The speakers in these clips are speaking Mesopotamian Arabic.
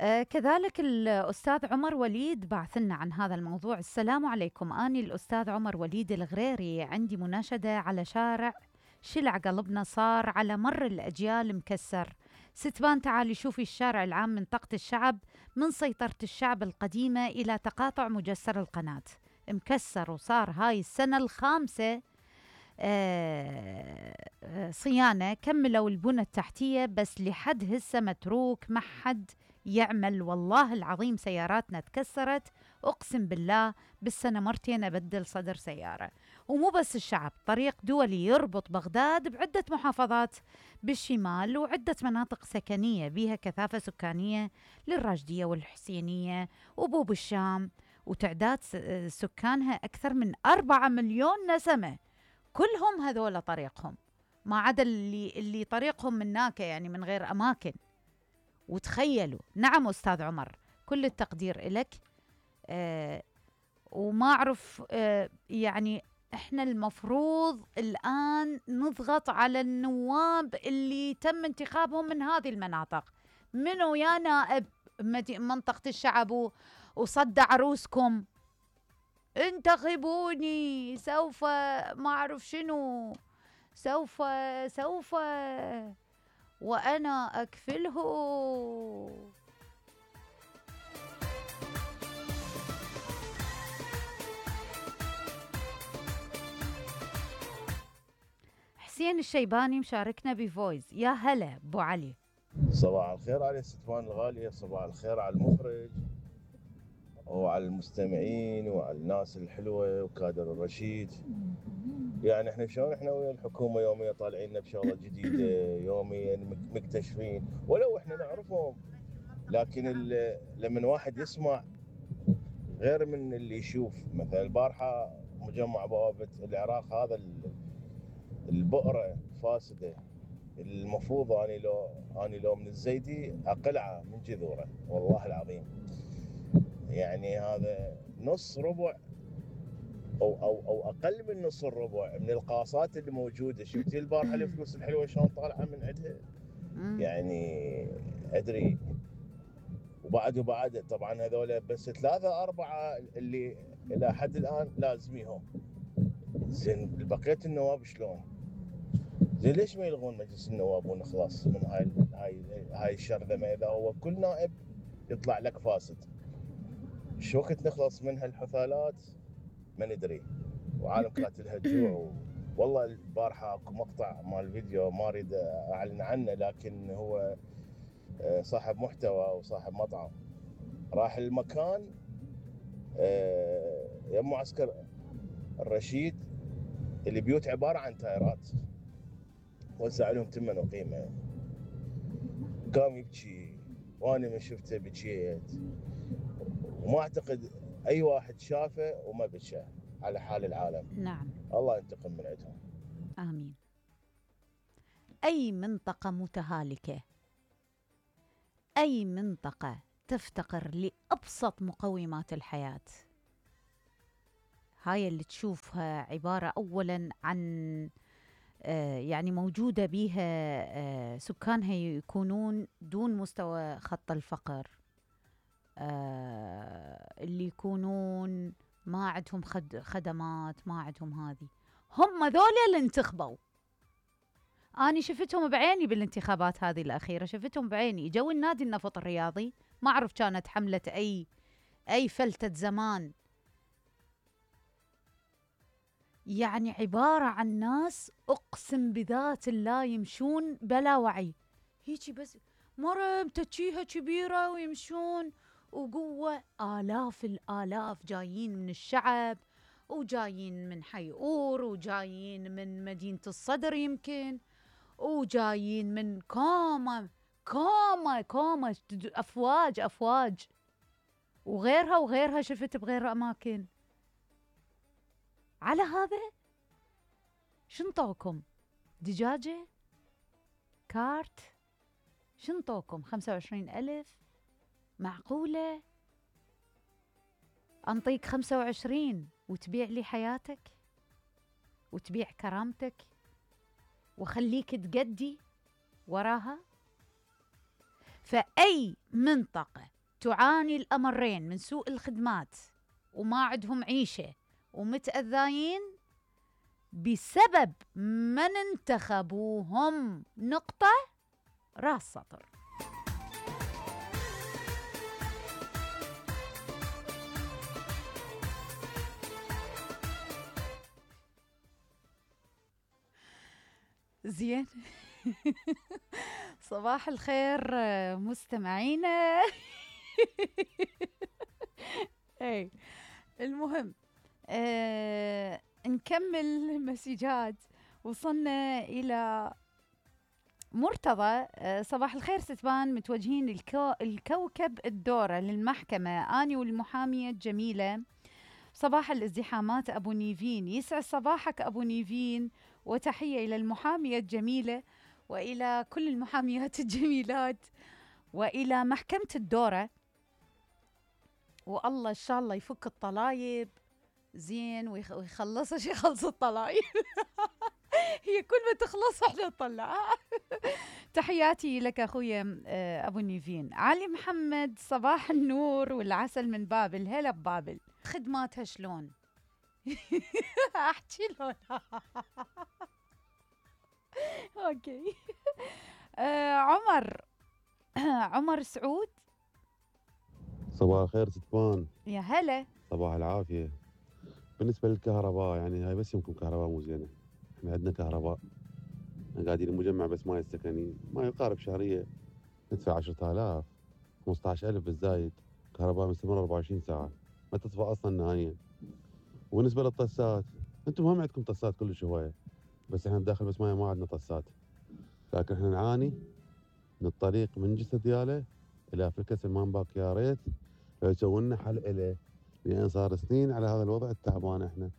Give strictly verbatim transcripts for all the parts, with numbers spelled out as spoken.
آه كذلك الأستاذ عمر وليد بعث لنا عن هذا الموضوع. السلام عليكم، أني الأستاذ عمر وليد الغريري، عندي مناشدة على شارع شلع قلبنا صار على مر الأجيال مكسر. ستبان تعالي شوفي الشارع العام منطقة الشعب من سيطرة الشعب القديمة إلى تقاطع مجسر القناة، مكسر وصار هاي السنة الخامسة آه آه صيانة. كملوا البنى التحتية بس لحد هسه متروك، ما حد يعمل. والله العظيم سياراتنا تكسرت، أقسم بالله بالسنة مرتين أبدل صدر سيارة. ومو بس الشعب، طريق دولي يربط بغداد بعدة محافظات بالشمال وعدة مناطق سكنية بيها كثافة سكانية للراشدية والحسينية وبوب الشام، وتعداد سكانها أكثر من أربعة مليون نسمة، كلهم هذول طريقهم، ما عدا اللي, اللي طريقهم من ناكا يعني من غير أماكن. وتخيلوا. نعم أستاذ عمر، كل التقدير إلك. آه وما أعرف آه يعني إحنا المفروض الآن نضغط على النواب اللي تم انتخابهم من هذه المناطق. منو يا نائب منطقة الشعب وصد عروسكم؟ انتخبوني، سوف ما أعرف شنو، سوف سوف وأنا أكفله. حسين الشيباني مشاركنا بفويس. يا هلا أبو علي. صباح الخير على ستفان الغالية، صباح الخير على المخرج وعلى المستمعين وعلى الناس الحلوة وكادر الرشيد. يعني احنا شلون احنا ويا الحكومة يوميا طالعين لنا بشغلة جديدة، يوميا مكتشفين ولو احنا نعرفهم، لكن لما واحد يسمع غير من اللي يشوف. مثلا البارحة مجمع بوابة العراق هذا البؤرة فاسدة، المفروض اني لو اني لو من الزيدي اقلعه من جذوره، والله العظيم. يعني هذا نص ربع او او او اقل من نص الربع من القاصات اللي موجوده. شفتي البارحه الفلوس الحلوه شلون طالعه من عندها؟ يعني ادري. وبعد وبعد طبعا هذول بس ثلاثه اربعه اللي الى حد الان لازميهم. زين بقيه النواب شلون؟ زين ليش ما يلغون مجلس النواب ونخلص من هاي هاي هاي الشرذمه؟ اذا هو كل نائب يطلع لك فاسد، شو وقت نخلص من هالحثالات؟ ما ندري. وعالم كاتلها الجوع و... والله البارحه اكو مقطع مال فيديو ما اريد اعلن عنه، لكن هو صاحب محتوى وصاحب مطعم راح المكان يم معسكر الرشيد اللي بيوت عباره عن تايرات، وزع لهم ثمن وقيمه. قام يبكي وانا من شفته بكيت، وما اعتقد اي واحد شافه وما بكى على حال العالم. نعم، الله ينتقم من عندهم. آمين. أي منطقة متهالكة، أي منطقة تفتقر لأبسط مقومات الحياة، هاي اللي تشوفها عبارة أولاً عن آه يعني موجودة بيها آه سكانها يكونون دون مستوى خط الفقر، آه اللي يكونون ما عندهم خد خدمات، ما عندهم هذه، هم ذولا اللي انتخبوا. أنا شفتهم بعيني بالانتخابات هذه الأخيرة، شفتهم بعيني. جو النادي النفط الرياضي، ما أعرف كانت حملة أي أي فلتة زمان، يعني عبارة عن ناس أقسم بذات الله يمشون بلا وعي، هيجي بس مرة متجيها كبيرة ويمشون وقوة. آلاف الآلاف جايين من الشعب، وجايين من حي أور، وجايين من مدينة الصدر يمكن، وجايين من كوما كوما كوما أفواج أفواج وغيرها وغيرها، شفت بغير أماكن. على هذا شنطوكم دجاجة كارت؟ شنطوكم خمسة وعشرين ألف؟ معقولة أنطيك خمسة وعشرين وتبيع لي حياتك وتبيع كرامتك وخليك تقدي وراها؟ فأي منطقة تعاني الأمرين من سوء الخدمات وما عندهم عيشة ومتأذاين بسبب من انتخبوهم، نقطة، راس سطر. زين. صباح الخير مستمعينا. اي المهم آه نكمل مسجات. وصلنا الى مرتضى. آه صباح الخير ستبان، متوجهين الكو الكوكب الدورة للمحكمة اني والمحامية الجميلة. صباح الازدحامات ابو نيفين، يسعد صباحك ابو نيفين، وتحية إلى المحامية الجميلة وإلى كل المحاميات الجميلات وإلى محكمة الدورة. والله إن شاء الله يفك الطلايب زين ويخلص يخلص الطلايب. هي كل ما تخلص احنا نطلعها. تحياتي لك أخويا أبو نيفين. علي محمد، صباح النور والعسل من بابل. هلا ببابل، خدماتها شلون؟ احكي لون. اوكي. آه عمر. عمر سعود. صباح الخير ستبان. يا هلا. صباح العافية. بالنسبة للكهرباء يعني هاي بس يمكن كهرباء مو زينة. احنا عندنا كهرباء قاعدين المجمع بس ما السكني ما يقارب شهرية ندفع عشرة آلاف خمسة عشر ألف بالزايد. كهرباء مستمرة أربعة وعشرين ساعة ما تطفى أصلا نهائيا. وبالنسبة للطسات انتم هم عندكم طسات كل شوية، بس احنا بداخل بس ما ما عندنا طسات، لكن احنا نعاني من الطريق من جسر دياله الى فلكس المانباك. يا ريت لو يسوون لنا حل إله، لان صار سنين على هذا الوضع التعبان. احنا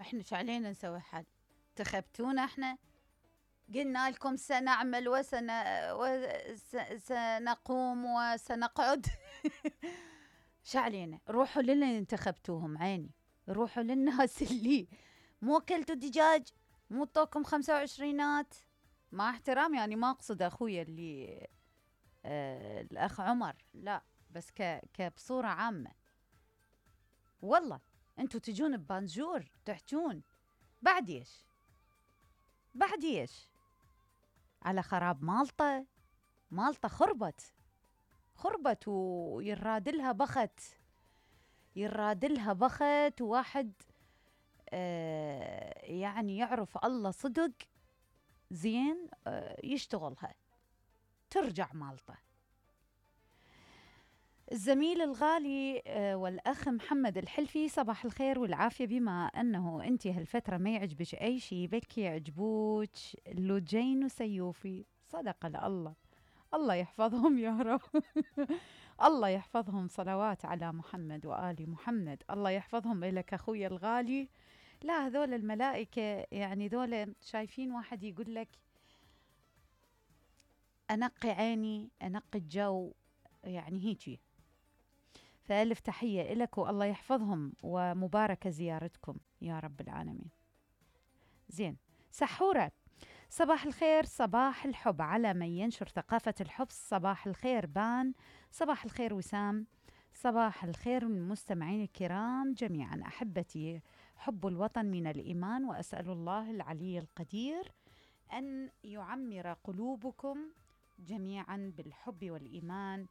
احنا شو علينا نسوي حل؟ انتخبتونا احنا، قلنا لكم سنعمل وسن وسنقوم وسنقعد. شو علينا؟ روحوا للي انتخبتوهم عيني، روحوا للناس اللي مو اكلتوا دجاج، مو طوكم خمسة وعشرينات. مع احترام يعني ما اقصد اخويا اللي آه الاخ عمر، لا بس ك كبصورة عامة. والله انتوا تجون ببانجور تحجون بعد ايش؟ بعد ايش؟ على خراب مالطة. مالطة خربت خربت ويرادلها بخت يرادلها بخت. وواحد آه يعني يعرف الله صدق زين آه يشتغلها ترجع مالطة. الزميل الغالي آه والأخ محمد الحلفي، صباح الخير والعافية. بما أنه أنت هالفترة ما يعجبك أي شيء بلكي يعجبوك لوجين وسيوفي. صدق الله، الله يحفظهم يا رب. الله يحفظهم، صلوات على محمد وآل محمد. الله يحفظهم إلك أخوي الغالي. لا هذول الملائكة يعني ذول شايفين واحد يقول لك أنقي عيني أنقي الجو، يعني هيجي. فألف تحية إلك والله يحفظهم ومباركة زيارتكم يا رب العالمين. زين. سحورة، صباح الخير، صباح الحب على من ينشر ثقافة الحب. صباح الخير بان، صباح الخير وسام، صباح الخير المستمعين الكرام جميعا. أحبتي، حب الوطن من الإيمان، وأسأل الله العلي القدير أن يعمر قلوبكم جميعا بالحب والإيمان.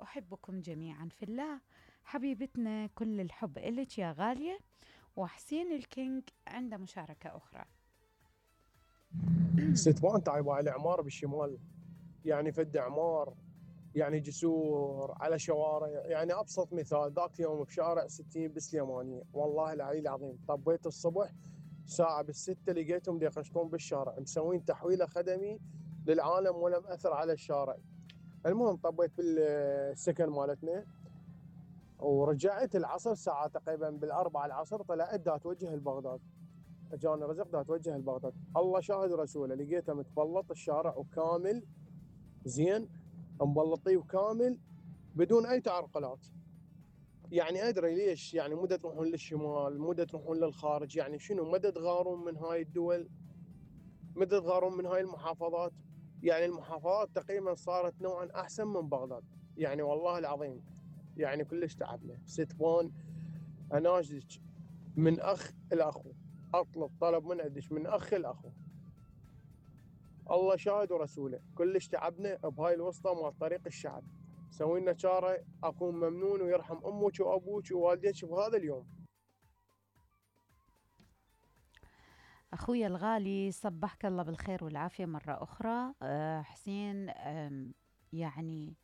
أحبكم جميعا في الله. حبيبتنا كل الحب إلك يا غالية. وحسين الكينج عنده مشاركة أخرى. ستوان تعبوا على عمار بالشمال، يعني فد عمار، يعني جسور على شوارع. يعني ابسط مثال ذاك يوم بشارع ستين بالسليمانيه، والله العلي العظيم طبيت الصبح ساعه بالسته لقيتهم يقشطون بالشارع مسوين تحويله خدمي للعالم ولم اثر على الشارع. المهم طبيت بالسكن مالتنا ورجعت العصر ساعه تقريبا بالاربعه العصر، طلعت دا توجه لبغداد. اجاني رزق دا توجه لبغداد، الله شاهد رسوله لقيته متبلط الشارع وكامل زين مبلطيه وكامل بدون اي تعرقلات. يعني ادري ليش، يعني مدى تروحون للشمال، مدى تروحون للخارج، يعني شنو مدى تغارون من هاي الدول، مدى تغارون من هاي المحافظات. يعني المحافظات تقريبا صارت نوعا احسن من بغداد، يعني والله العظيم يعني كلش تعبنا. ستوان اناشدك من اخ الاخو، اطلب طلب من عندك من اخ الاخو، الله شاهد ورسوله، كلش تعبنا بهاي الوسطى مال طريق الشعب. سوي لنا شاره اكون ممنون ويرحم امك وابوك ووالديك بهذا اليوم. أخوي الغالي صبحك الله بالخير والعافية مرة أخرى. أه حسين، يعني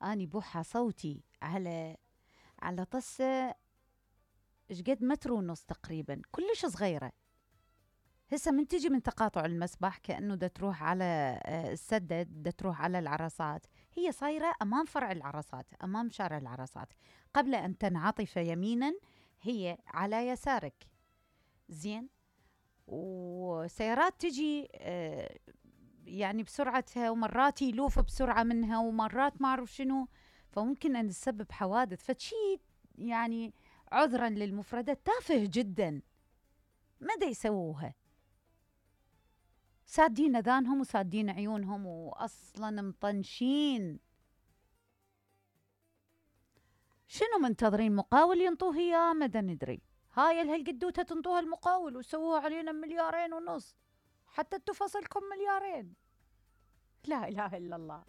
أني بوحة صوتي على على طسة شقد متر ونص تقريبا، كلش صغيرة. هسه من تجي من تقاطع المسبح كأنه دا تروح على السدد، دا تروح على العرصات، هي صايرة أمام فرع العرصات، أمام شارع العرصات، قبل أن تنعطف يمينا هي على يسارك. زين، وسيارات تجي يعني بسرعتها، ومرات يلوف بسرعة منها، ومرات ما أعرف شنو، فممكن أن تسبب حوادث. فشي يعني عذرا للمفردات تافه جدا، ماذا يسووها؟ سادين اذانهم وسادين عيونهم واصلا مطنشين. شنو منتظرين؟ مقاول ينطوه اياه؟ ماذا ندري. هاي الهالقدوته تنطوها المقاول وسووها علينا مليارين ونص، حتى انتو فصلكم مليارين. لا اله الا الله.